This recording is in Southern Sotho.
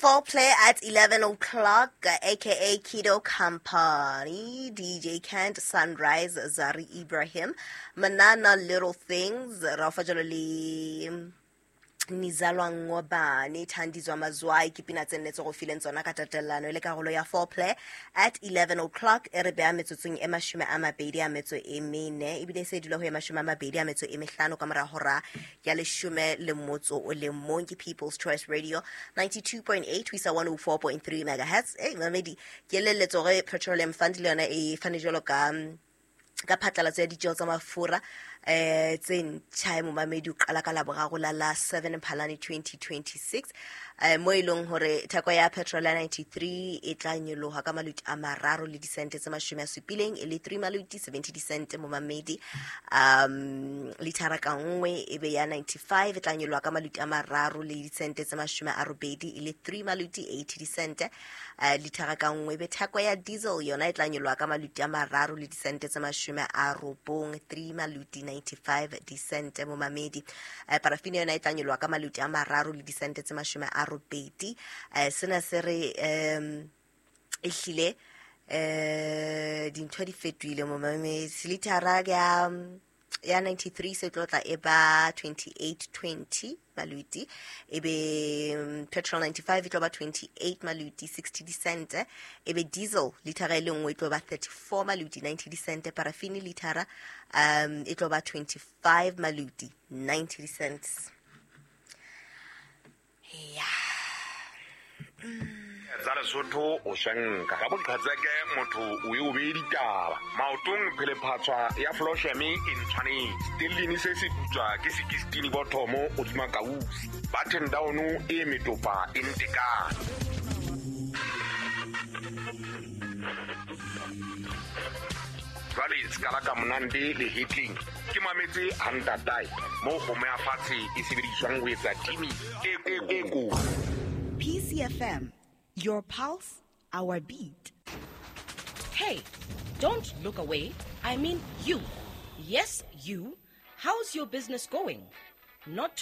Foreplay at 11 o'clock, aka Kido Company, DJ Kent, Sunrise, Zari Ibrahim, Manana Little Things, Rafa Jololi, Nizalwa Ngobane, Thandizwa Mazwai, ke pina tse nne tse go fileng tsona ka tatelano e le karolo ya Foreplay at 11 o'clock. E re beya metsotsong e 24 ebile e se e dula ho e 25 ka mora hora ya 11. Ke People's Choice Radio 92.8 ho isa 104.3 megahertz. E mamedi, ke elelletswa hore Petroleum Fund le yona e fane jwalo ka phatlalatso ya ditjeho tsa mafura tse ntjha. Momamedi, o qala ka Laboraro la 7 Phalane 2026, mo e leng hore theko ya petrol ya 93 e tla nyoloha ka maluti a 3 le disente tse 70, e le 3 maluti 70 disente, momamedi, lithara ka nngwe. E be ya 95 e tla nyoloha ka maluti a 3 le disente tse 80, e le 3 maluti 80 disente, lithara ka nngwe. E be theko ya diesel yona e tla nyoloha ka maluti a 3 le disente tse 90, 3 maluti 95 disente, momamedi. Parafini yona e tla nyoloha ka maluti a 3 le disente tse 80. Sena se re ehlile dintho di fetohile, momamedi. Lithara ya 93 se tlo tla e ba 28.20 maluti, ebe petrol 95 e tlo ba 28 maluti 60 disente, ebe diesel lithara e le nngwe e tlo ba 34 maluti 90 disente, parafini lithara e tlo ba 25 maluti 90 cents. Yeah. Tsa Lesotho o swenka ka boqhetseke, motho o e o bee ditaba maotong, phelephatswa ya flosheme e ntshwanetse tellini se se putswa ke sekistini bothomo godima kausi button down e metopa e ntekane. Jwale se ka monande le hetleng ke mametse hantatae mo kgomo ya fatshe e sebediswang ho etsa timi e ko. PCFM, your pulse, our beat. Hey, don't look away. I mean you. Yes, you. How's your business going? Not too